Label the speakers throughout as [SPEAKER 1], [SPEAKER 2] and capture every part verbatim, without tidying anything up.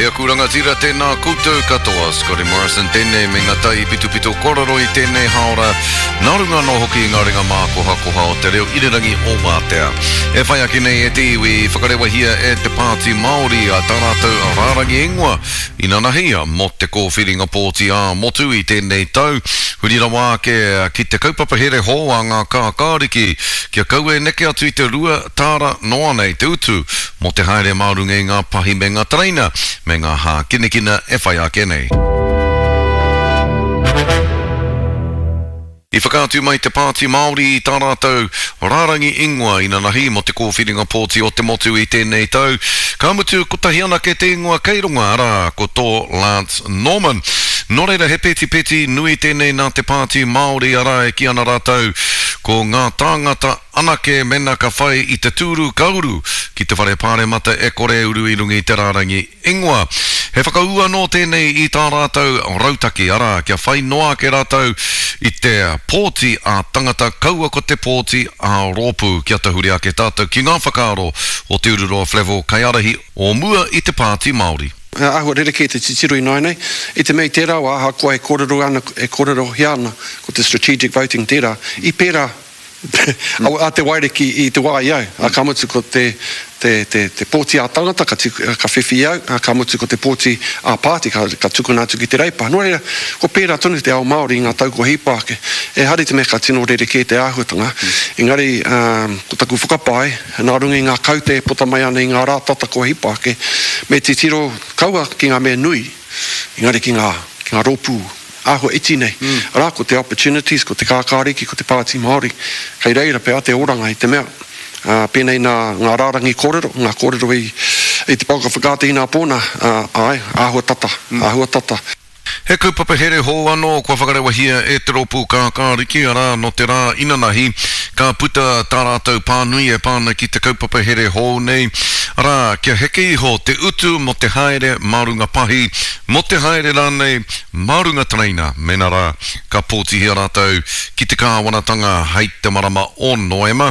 [SPEAKER 1] E aku rangatira, tēnā koutou katoa. Scotty Morrison tēnei me ngā tai pitopito kōrero i tēnei haora. Nā runga anō hoki i ngā ringa mākohakoha o te reo irirangi o Wātea. E whai ake nei e te iwi i whakarewahia e te Pāti Māori a tā rātou rārangi ingoa inanahi mō te kōwhiringa pōti ā-motu i tēnei tau. Huri rawa ake ki te kaupapa here hou a ngā kākāriki kia kaua e neke atu i te rua tāra noa nei te utu mō te haere mā runga i ngā pahi me ngā tereina me ngā hākinakina e whai ake nei. I whakaatu mai te Pāti Māori i tā rātou rārangi ingoa inanahi mō te kōwhiringa pōti o te motu i tēnei tau. Ka mutu kotahi anake te ingoa kei runga, arā, ko tō Lance Norman. Nō reira he petipeti nui tēnei nā te Pāti Māori, arā, e kī ana rātou ko ngā tāngata anake mēnā ka whai i te tūru ka uru ki te whare pāremata e kore e uru i runga i te rārangi ingoa. He whakaū anō tēnei i tā rātou rautaki, arā, kia whai noa ake rātou i te pōti ā-tangata kaua ko te pōti ā-rōpū. Kia tahuri ake tātou ki ngā whakaaro o Te Ururoa Flavell, kaiārahi o mua i te Pāti Māori.
[SPEAKER 2] He āhua rerekē te titiro ināianei, i te mea i tērā wā ahakoa e kōrero ana, e kōrerohia ana ko te strategic voting tērā, i pērā a Te Wairiki i te wā i au, ā, ka mutu ko te, te, te, te pōti ā-tangata ka, ka whiwhi i au, ā, ka mutu ko te pōti ā-pāti ka, ka tukuna atu ki te Reipa. Nō reira, kua pērā tonu te ao Māori i ngā tau kua hipa ake. Ehara i te mea ka tino rerekē te āhuatanga, engari, ā, ko taku whakapae, nā runga i ngā kaute e puta mai ana i ngā rā tata kua hipa ake, me titiro kaua ki ngā mea nui, engari ki ngā, ki ngā rōpū āhua iti nei. Arā, ko te Opportunities, ko te Kākāriki, ko te Pāti Māori, kei reira pea te oranga i te mea, ā, pēnei nā ngā rārangi kōrero, ngā kōrero i, i te pouaka whakaata inapō nā, ā, āe, āhua tata, āhua tata.
[SPEAKER 1] He kaupapa here hou anō kua whakarewahia e te rōpū Kākāriki, arā, nō te rā inanahi ka puta tā rātou pānui e pā ana ki te kaupapa here hou nei, arā, kia heke iho te utu mō te haere mā runga pahi, mō te haere rānei mā runga tereina, mēnā rā ka pōtihia rātou ki te kāwanatanga hei te marama o Noema.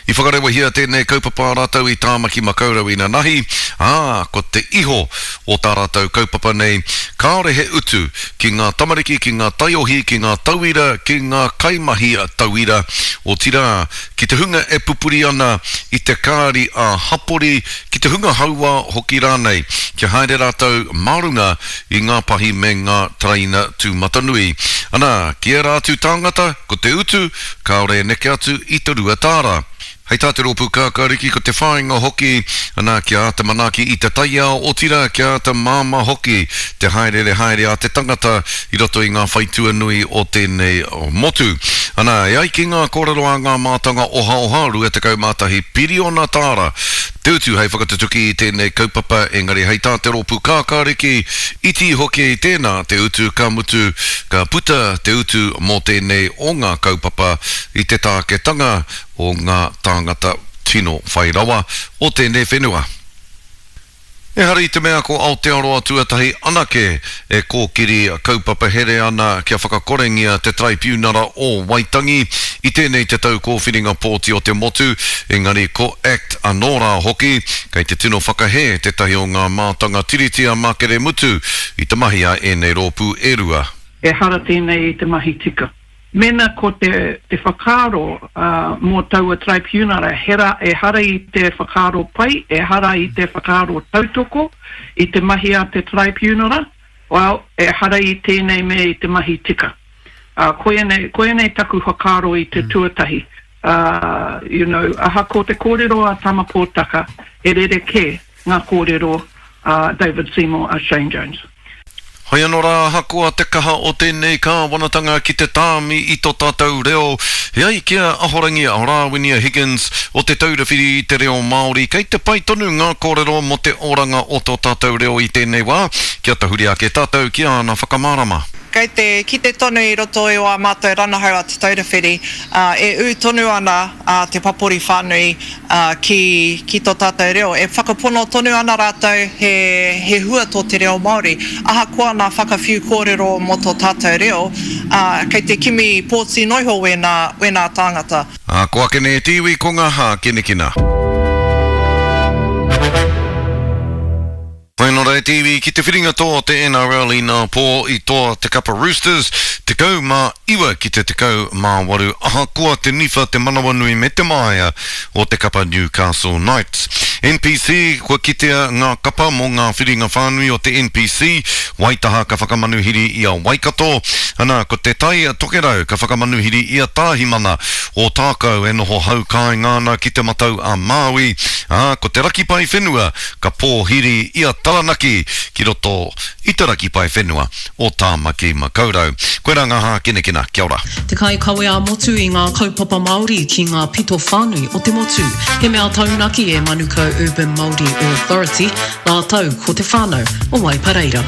[SPEAKER 1] I whakarewahia tēnei kaupapa a rātou i Tāmaki Makaurau inanahi, ā, ko te iho o tā rātou kaupapa nei, kāore he utu ki ngā tamariki, ki ngā taiohi, ki ngā tauira, ki ngā kaimahi tauira, otirā, ki te hunga e pupuri ana i te kāri ā-hapori, ki te hunga hauā hoki rānei, kia haere rātou mā runga i ngā pahi me ngā tereina tūmatanui. Ana, ki ērā atu tāngata, ko te utu, kāore e neke atu i te rua tāra. Hei tā te rōpū Kākāriki, ko te whāinga hoki, ana, kia āta manaaki i te taiao, otirā, kia āta māmā hoki te hāereere haere a te tangata i roto i ngā whaitua nui o tēnei motu. Ana, e ai ki ngā kōrero a ngā mātanga ohaoha, rua tekau mā tahi piriona tāra te utu hei whakatutuki i tēnei kaupapa, engari hei tā te rōpū Kākāriki, iti iho kē i tēnā te utu, ka mutu, ka puta te utu mō tēnei o ngā kaupapa i te tāketanga o ngā tāngata tino whai rawa o tēnei whenua. Ehara i te mea ko Aotearoa tuatahi anake e kōkiri kaupapa here ana kia whakakorengia te Taraipiunara o Waitangi i tēnei te tau kōwhiringa pōti o te motu, engari ko act anō rā hoki, kei te tino whakahē tētahi o ngā mātanga tiriti a Makere Mutu i te mahi a ēnei rōpū e rua.
[SPEAKER 3] Ehara tēnei i te mahi tika. Mēnā ko te te whakaaro mō taua Taraipiunara hera ehara i te whakaaro pai, ehara i te whakaaro tautoko i te mahi a te Taraipiunara, well, ehara i tēnei mea i te mahi tika. Ā, koianei, koianei taku whakaaro i te tuatahi. Ā, you know, ahakoa te kōrero a Tama Pōtaka, he rerekē ngā kōrero a David Seymour, a Shane Jones.
[SPEAKER 1] Hoi anō rā, ahakoa te kaha o tēnei kāwanatanga ki te tāmi i tō tātou reo, e ai ki a Ahorangi Rāwinia Higgins o Te Taura Whiri i te Reo Māori, kei te pai tonu ngā kōrero mō te oranga o tō tātou reo i tēnei wā, kia tahuri ake tātou ki āna whakamārama.
[SPEAKER 4] Kei te kite tonu i roto i ā mātou ranahau a Te Taura Whiri, e ū tonu ana te papori whānui ki, ki tō tātou reo. E whakapono tonu ana rātou he, he hua tō te reo Māori. Ahakoa nā whakawhiu kōrero mō tō tātou reo, kei te kimi pōti noiho wēnā, wēnā tāngata.
[SPEAKER 1] Ā, ko ake nei e te iwi ko ngā hākinakina. Whai anō Ora e te iwi, ki te whiringa toa o te N R L inā pō i toa te kapa Roosters, tekau mā iwa ki te tekau mā waru, ahakoa te niwha, te manawanui me te māia o te kapa Newcastle Knights. N P C, kua kitea ngā kapa mō ngā whiringa whānui o te N P C, Waitaha ka whakamanuhiri i a Waikato, ana ko Te Tai Tokerau ka whakamanuhiri i a Tāhimana, Ōtākou e noho haukāinga ana ki Te Matau a Māui, ā, ko Te Rakipae Whenua ka pōhiri i a Taranaki ki roto i te rakipae whenua o Tāmaki Makaurau. Koirā ngā hākinakina, kia ora.
[SPEAKER 5] Te kaikawe ā-motu i ngā kaupapa Māori ki ngā pito whānui o te motu. He mea taunaki e Manukau Urban Māori Authority, rātou ko te whānau o Waipareira.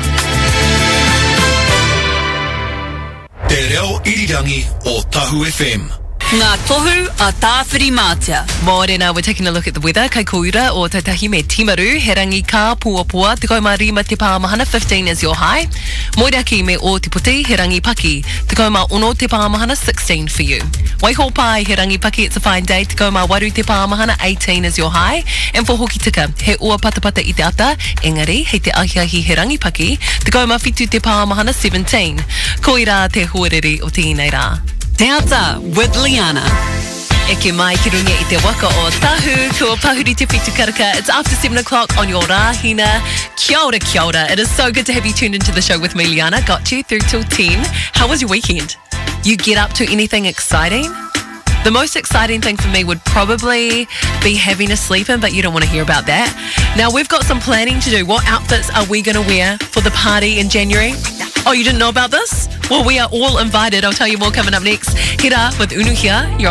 [SPEAKER 6] Te reo irirangi o Tahu F M.
[SPEAKER 7] Ngā tohu a Tāwhirimātea.
[SPEAKER 8] Mōrena, we're taking a look at the weather. Kai kōura o Tautahi me Timaru, he rangi kā puapoa, tekau mā rima te pāmahana, fifteen is your high. Moeraki me Ōtepoti, he rangi paki, tekau mā ono te pāmahana, sixteen for you. Waihopai, he rangi paki, it's a fine day, tekau mā waru te pāmahana, eighteen is your high. And for Hokitika, he ua patapata i te ata, engari, hei te ahiahi he rangi paki, tekau mā whitu te pāmahana, seventeen. Koirā te huarere o tēnei rā.
[SPEAKER 7] Te Ata with Liana.
[SPEAKER 8] Eke mai ki runga i te waka o Tahu, kua pahuri te whitu karaka. It's after seven o'clock on your Rāhina. Kia ora, kia ora. It is so good to have you tuned into the show with me, Liana. Got you through till ten. How was your weekend? You get up to anything exciting? The most exciting thing for me would probably be having a sleep in, but you don't want to hear about that. Now, we've got some planning to do. What outfits are we gonna wear for the party in January? Oh, you didn't know about this? Well, we are all invited. I'll tell you more coming up next. Hira with Unuhia. You're on